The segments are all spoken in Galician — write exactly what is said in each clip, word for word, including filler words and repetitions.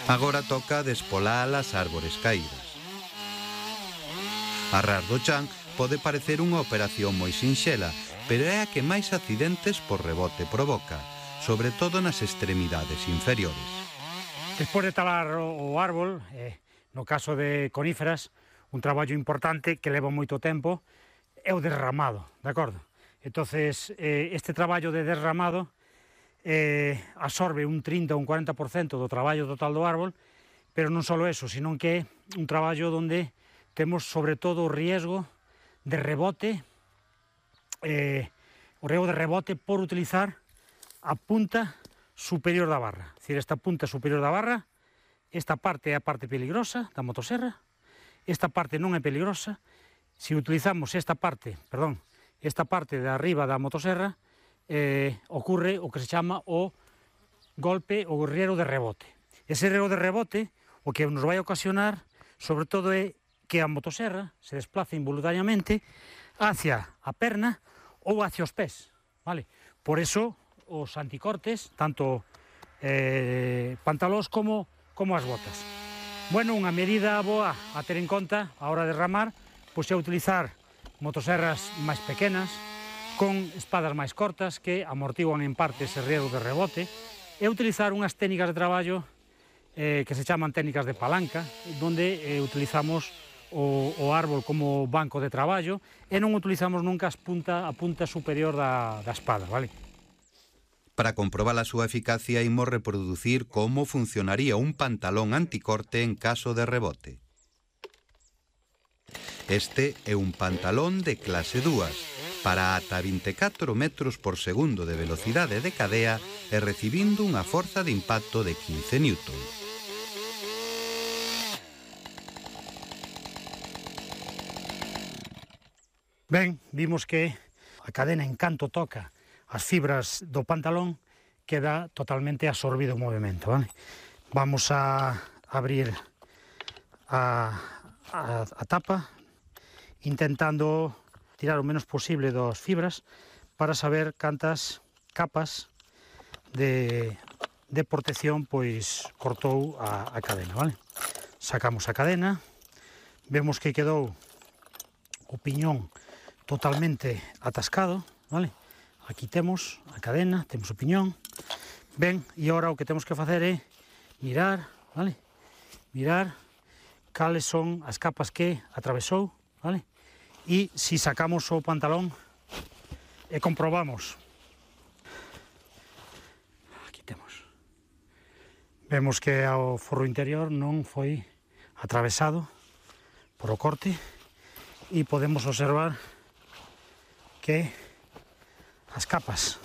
Agora toca despolar as árbores caídas. Arrar do chan pode parecer unha operación moi sinxela, pero é a que máis accidentes por rebote provoca, sobre todo nas extremidades inferiores. Despois de talar o árbol, eh, no caso de coníferas, un traballo importante que leva moito tempo é o derramado, de acordo? Entonces, eh, este traballo de derramado eh, absorbe un trinta ou un cuarenta por cento do traballo total do árbol, pero non só eso, sino que é un traballo onde temos sobre todo o riesgo de rebote, eh, o riesgo de rebote por utilizar a punta superior da barra. É dicir, esta punta superior da barra, esta parte é a parte peligrosa da motoserra, esta parte non é peligrosa. Se utilizamos esta parte, perdón, esta parte de arriba da motoserra, eh, ocurre o que se chama o golpe ou riesgo de rebote. Ese riesgo de rebote o que nos vai ocasionar, sobre todo, é que a motoserra se desplaza involuntariamente hacia a perna ou hacia os pés, vale? Por eso, os anticortes, tanto eh, pantalóns como, como as botas. Bueno, unha medida boa a ter en conta a hora de ramar, pois é utilizar motoserras máis pequenas, con espadas máis cortas que amortiguan en parte ese riesgo de rebote, e utilizar unhas técnicas de traballo eh, que se chaman técnicas de palanca, donde eh, utilizamos o, o árbol como banco de traballo e non utilizamos nunca as punta, a punta superior da, da espada, vale? Para comprobar a súa eficacia, imos reproducir como funcionaría un pantalón anticorte en caso de rebote. Este é un pantalón de clase dúas, para ata vinte e catro metros por segundo de velocidade de cadea e recibindo unha forza de impacto de quince newtons. Ben, vimos que a cadena en canto toca as fibras do pantalón queda totalmente absorbido o movimento, vale? Vamos a abrir a, a, a tapa intentando tirar o menos posible das fibras para saber cantas capas de, de protección pois cortou a, a cadena, vale? Sacamos a cadena, vemos que quedou o piñón totalmente atascado, vale? Aquí temos a cadena, temos o piñón. Ben, e agora o que temos que facer é mirar, vale? Mirar cales son as capas que atravesou, vale? E se sacamos o pantalón e comprobamos. Aquí temos. Vemos que o forro interior non foi atravesado por o corte e podemos observar que as capas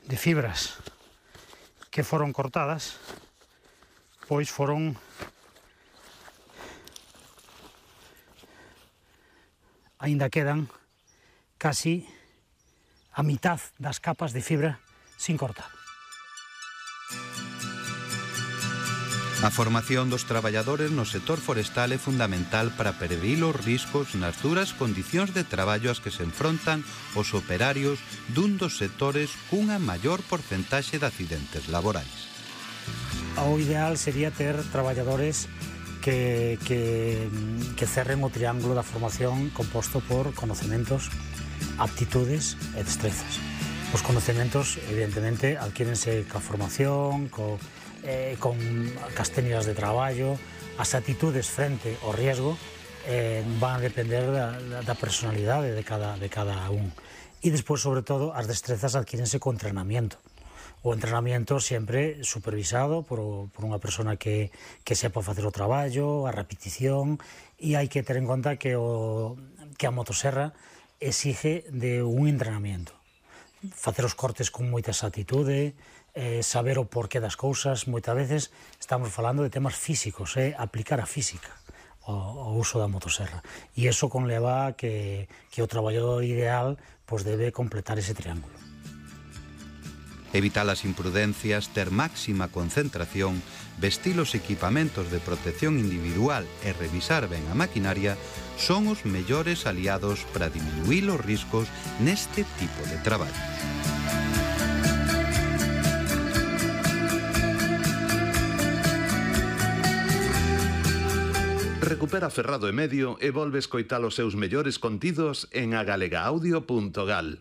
de fibras que foron cortadas pois foron aínda quedan casi a mitad das capas de fibra sin cortar. A formación dos traballadores no sector forestal é fundamental para prevenir os riscos nas duras condicións de traballo ás que se enfrontan os operarios dun dos sectores cunha maior porcentaxe de accidentes laborais. O ideal sería ter traballadores que, que, que cerren o triángulo da formación composto por conocimientos, aptitudes e destrezas. Os conocimientos, evidentemente, adquírense ca formación, co Eh, con as técnicas de traballo, as atitudes frente ao riesgo eh, van a depender da, da personalidade de cada, de cada un. E despois, sobre todo, as destrezas adquírense co entrenamiento. O entrenamiento sempre supervisado por, por unha persona que, que sepa facer o traballo, a repetición, e hai que ter en conta que, o, que a motoserra exige de un entrenamiento. Facer os cortes con moita exactitude, eh, saber o porqué das cousas. Moitas veces estamos falando de temas físicos, eh, aplicar a física ao, ao uso da motoserra. E iso conleva que, que o traballador ideal pois, debe completar ese triángulo. Evitar as imprudencias, ter máxima concentración, vestir os equipamentos de protección individual e revisar ben a maquinaria son os mellores aliados para diminuir os riscos neste tipo de traballo. Recupera Ferrado e Medio e volve escoitar os seus mellores contidos en agalega audio punto gal.